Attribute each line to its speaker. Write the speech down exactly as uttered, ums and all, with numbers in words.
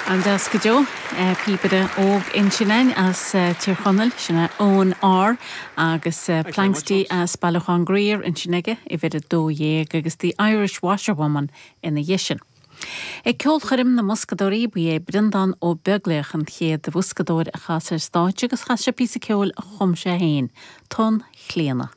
Speaker 1: An-deas go deo píobaire óg ansin as Tír Chonaill sin é Eoin R agus Planxty as Bailiúchán Grier ansin aige uimhir a dó dhéag agus The Irish Washerwoman ina dhiaidh sin. Ag ceolchoirm na mboscadóirí ba é Breandán Ó Beaglaoich an chéad bhoscadóir a chas ar stáitse agus chas sé píosa ceoil a chum sé féin, Tonn Chlíona.